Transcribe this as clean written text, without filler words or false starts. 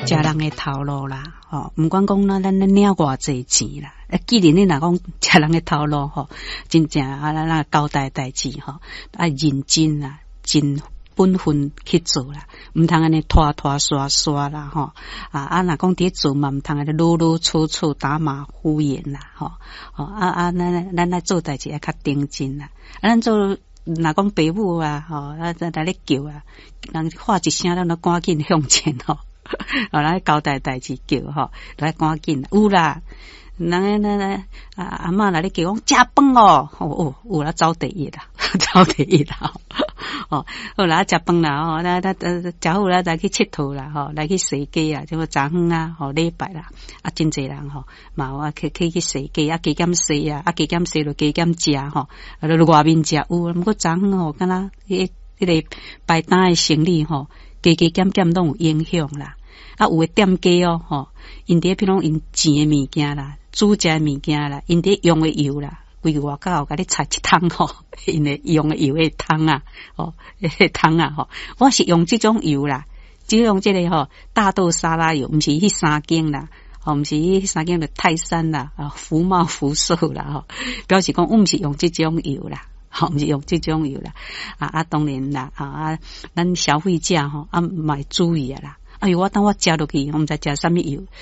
食人的頭路啦，吼，毋管講咱領偌濟錢啦，啊，既然你若講食人的頭路吼，真正啊，咱交代代誌吼，愛認真啦，盡本分去做啦，毋通按呢拖拖沙沙啦，吼啊啊！若講佇咧做嘛，毋通按呢囉囉嗦嗦、打馬虎眼啦，吼吼啊啊！咱愛做代誌愛較認真啦，啊，咱做若講爸母啊，吼啊來咧叫啊，人喊一聲，咱就趕緊向前吼，吼來交代代誌叫吼，來趕緊有啦。人那那阿阿嬤來咧叫講食飯哦，哦哦有啦，走第一啦，走第一啦，哦，好啦，食飯啦，吼，咱咱食好啦，來去𨑨迌啦，吼，來去踅街啊，這個早昏啊，吼，禮拜啦，啊，真濟人吼，嘛有啊，去踅街啊，加減踅啊，啊，加減踅就加減食吼，啊，就外面食有，毋過昨昏吼，敢若彼個排檔的生理吼，加加減減攏有影響啦。啊，有的店家哦，吼，𪜶佇咧譬如講𪜶煎的物件啦，煮食的物件啦，𪜶佇用的油啦，規個外口共你擦一桶吼，𪜶的用的油的桶啊，吼，彼个桶啊，吼，我是用這種油啦，只用這個吼大豆沙拉油，毋是彼三間啦，吼，毋是彼三間的泰山啦，啊，福茂福壽啦，吼，表示講我毋是用這種油啦。吼，毋是用這種油啦，啊啊，當然啦，啊啊，咱消費者吼啊，嘛會注意啊啦。哎喲，我當我食落去，我毋知食啥物油。